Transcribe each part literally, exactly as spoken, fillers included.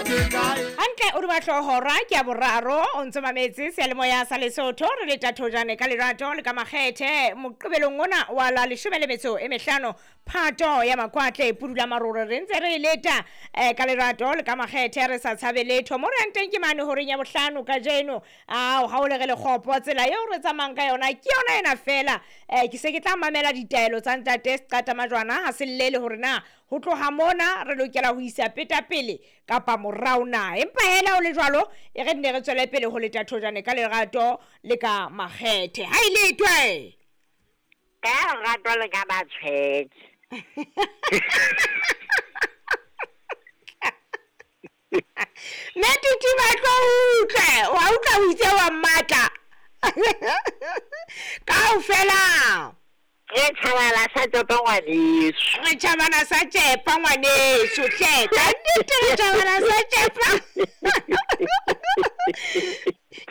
Hantle o di batlo hora ke ya boraro o ntse mametse seyalemoya sa Lesotho re le tathojane ka lerato le ka makgethe moqebelong ona wa la leshome le metso e mehlano Phato ya Makwatle pudula marore re ntse re leta eh, ka lerato le ka makgethe re sa tshabe letho mo re yang teng ke mane horeng ya bohlano kajeno ao ha o le re lekgopo tsela eo re tsamayang ka yona ke yona ena fela eh, ke se ke tla mamela ditaelo tsa ntate Seqata Majwana ha se llele hore na ho tloha mona re lokela ho isa peta pele kapa morao na empa hela o le jwalo e re nne re tswele pele ho leta thojane ka lerato le ka makgethe ha e letwe ka lerato le ka matshwethe. Mme Tutu batlo utlwe wa utlwa o itse wa mmatla kaofela Re tjhabana sa tšepa ngwaneso. Re tjhabana sa tšepa ngwaneso hle ka nnete re tjhabana sa tšepa.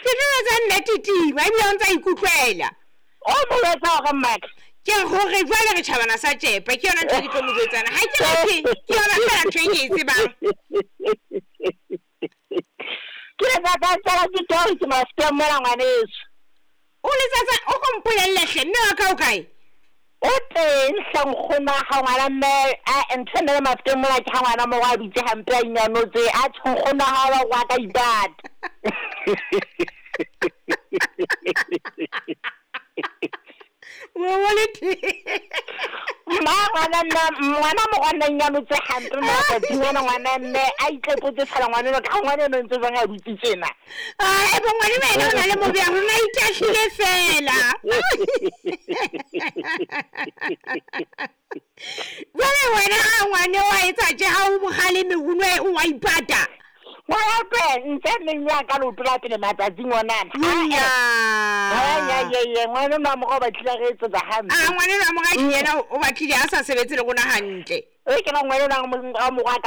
Ke tlo etsa nne Titima ebile o ntsa ikutlwela. O mo jwetsa hore mmaka ke hore jwale re tjhabana sa tšepa ke yona ntho e ke tlo mo jwetsana ha ke re ke yona fela ntho e ke e tsebang. Ke le tsa tsela ke tlo ke maske mona ngwaneso. O letsatsa o go mpolelle hle mme wa ka o kae? O teng hle nkgono wa hao ngwana mme a ntho ena le maske mona ke ha ngwana mo wa dutse hampe a inyanotse a tjho nkgono wa hao wa ka ipata. Mma ngwana nna ngwana mo ngwana nyanotse hampe matsatsing ana ngwana mme a itlepotse fela ngwana eno ka ngwana eno ntse jwang a dutse tjena. Ah, ebo ngwana ena o na le mobe ya rona itahlile fela. Jwale wena ha ngwane wa etsa tje ha o mokgaleme o nwe o wa ipata. Ngwana twe ntse neng ya ka leoto la pele matsatsing onana. Nya. Ya ya ya ngwana nwa mo go batlile re etsetsa hampe. Ah ngwana nwa mo ga yena o batlile a sa sebetse le rona hantle. E ke ngwana nwa mo mo